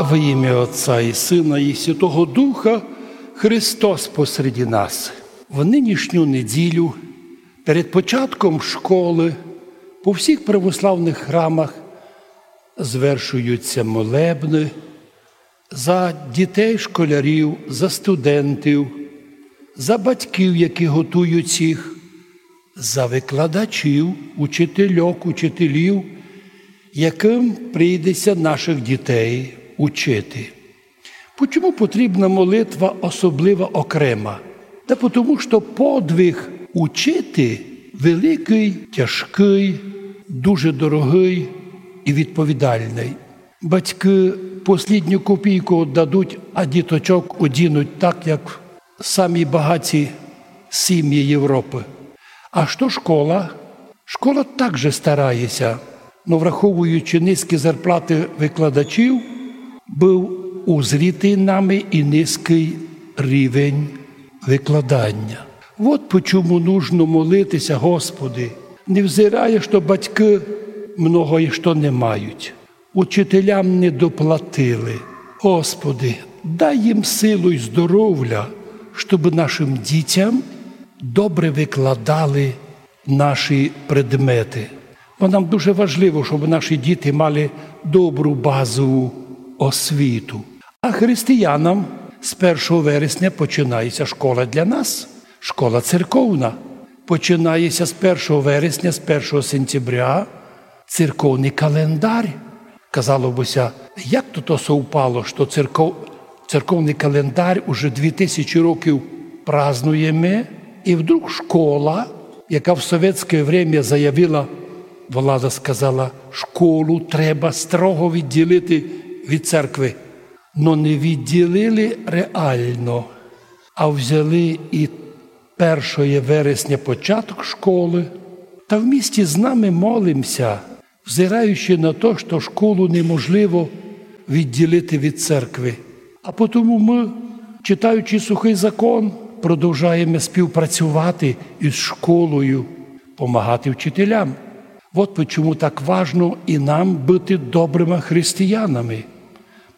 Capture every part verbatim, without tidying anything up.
Во імя Отця і Сына і Святого Духа. Христос посеред нас. В нынішню неділю, перед початком школы, по всіх православных храмах звершуються молебны за дітей, школярів, за студентів, за батьків, які готують їх, за викладачів, учительок, учителів, яким прийдеться наших дітей учити. Почому потрібна молитва особлива, окрема? Та потому, що подвиг учити великий, тяжкий, дуже дорогий і відповідальний. Батьки послідню копійку дадуть, а діточок одінуть так, як самі багаті сім'ї Європы. А што школа? Школа также старається, но враховуючи низькі зарплаты викладачів, быв узрітый нами і низький рівень викладання. Вот почому нужно молитися: Господи, невзирає, што батьки многоє што не мають, учителям не доплатили. Господи, дай їм силу й здоровля, щоб нашим дітям добре викладали наші предмети. Бо нам дуже важливо, щоб наші діти мали добру базову освіту. А християнам з першого вересня починається школа для нас, школа церковна. Починається з першого вересня, з першого сентября церковный календарь. Казало бы ся, як то, то совпало, што церков-, церковный календарь уже дві тисячі років празнуєме, і вдруг школа, яка в совєтське время заявила, влада сказала, школу треба строго відділити від церкви. Но не відділили реално, а взяли і першоє вересня початок школы, та вмісті з нами молимся, взираючи на то, што школу неможливо відділити від церкви. А потому мы, читаючи Сухый закон, продовжаєме співпрацювати із школою, помагати вчителям. Вот почому так важно і нам быти добрыма християнами.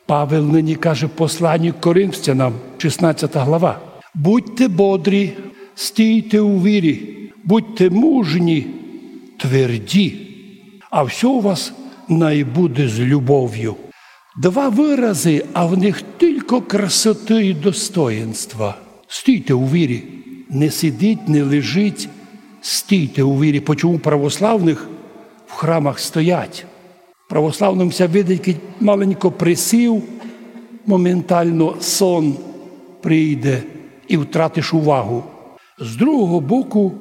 Павел нині каже в посланні к Коринфянам, шістнадцята глава: «Будьте бодрі, стійте у вірі, будьте мужні, тверді, а всьо у вас най буде з любов'ю». Два выразы, а в них тілько красоты і достоїнства. Стійте у вірі. Не сидіть, не лежіть. Стійте у вірі. Почому православных в храмах стоять? Православным ся видить, кідь маленько присів, моментално сон прийде і втратиш увагу. З другого боку,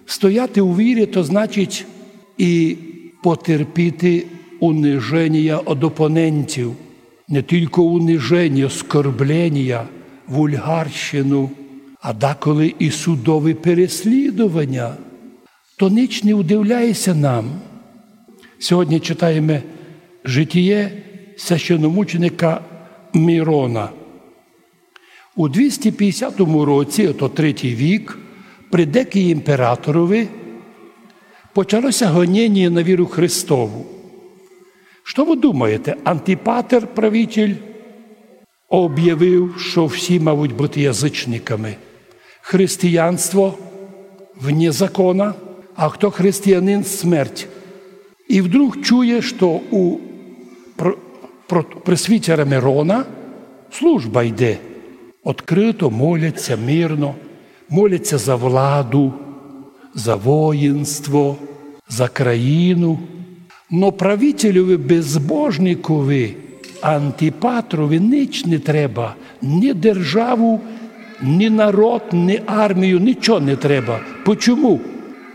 стояти у вірі, то значить і потерпіти униженя од опонентів. Не тілько униженя, оскорблення, вульгарщину, а деколи і судові переслідування. То нич не удивляє ся нам. Сьогодні читаєме житіє священномученика Мирона. У двісті пятдесятому році, ото третій вік, при Декії імператорови, почало ся гоненя на віру Христову. Што вы думаєте? Антипатер, правитель, обявив, што всі мавуть быти язычниками. Християнство вне закона, а хто християнин — смерть. І вдруг чує, што у пр-, пр-, пресвітера Мирона служба йде. Открыто моляться, мирно, моляться за владу, за воїнство, за країну. Но правителеві безбожникові Антипатрови нич не треба, ні державу, ні народ, ні армію, нічого не треба. Почому?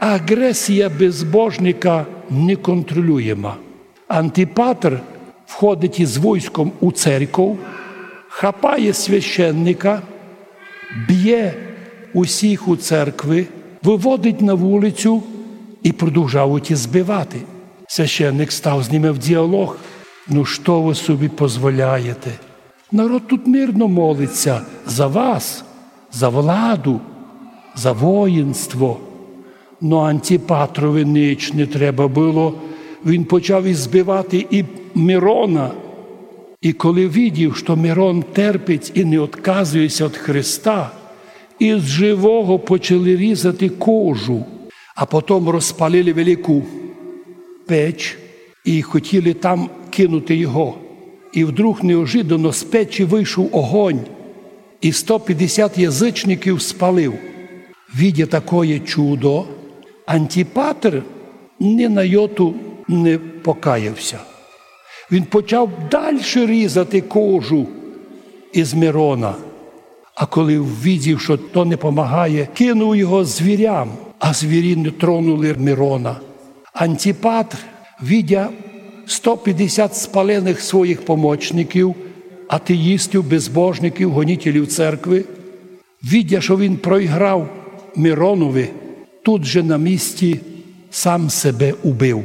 Агресія безбожника неконтролюєма. Антипатр входить із войском у церков, хапає священника, бє усіх у церкви, выводить на вулицю і продовжавуть збивати. Священник став з ними в діалог. Ну што вы собі позволяєте? Народ тут мирно молиться за вас, за владу, за воїнство. Но Антипатрови нич не треба было. Він почав ізбивати і Мирона. І коли видів, што Мирон терпить і не отказує ся од Христа, із живого почали різати кожу, а потом розпалили велику печ і хотіли там кинути його. І вдруг неожиданно з печі вийшов огонь і сто пятдесят язычників спалив. Видя такоє чудо, Антипатр ні на йоту не покаяв ся. Він почав дальше різати кожу із Мирона. А коли увидів, што то не помагає, кинув його звірям, а звірі не тронули Мирона. Антипатр, видя сто пятдесят спаленых своїх помочників, атеїстів, безбожників, гонітелів церкви, видя, што він проіграв Миронови, тут же на місці сам себе убив.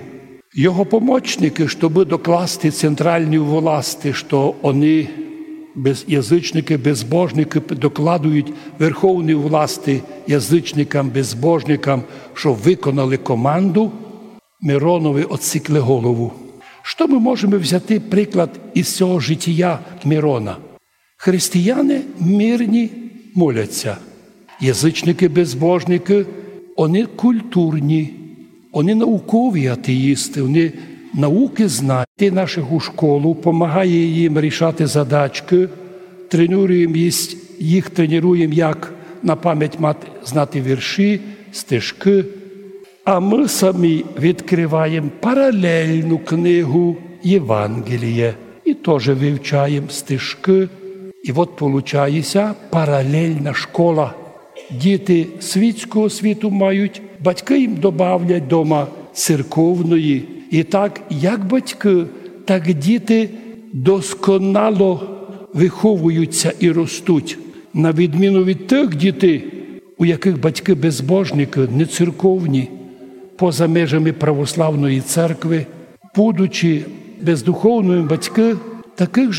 Його помочникы, щобы докласти центральній власти, што они без-, язычникы, безбожникы докладують верховній власти, язычникам, безбожникам, што выконали команду, Миронови одсікли голову. Што мы можеме взяти приклад із сього житія Мирона? Християни мирні молять ся. Язычникы, безбожникы, они культурні, они наукові атеїсты, они наукы знають. Ти наших у школу, помагає їм рішати задачкы, тренуєм їх, їх тренуєм, як на память мати, знати вірші, стишкы. А мы самі відкрываєм паралельну книгу Євангеліє і тоже вивчаєм стишкы. І от получає ся паралельна школа. Діти світського світу мають, батькы їм добавлять дома церковної. І так, як батькы, так діти досконало выховують ся і ростуть, на відміну від тых дітей, у якых батькы безбожникы, нецерковні, поза межами православної церкви, будучи бездуховными батькы, такых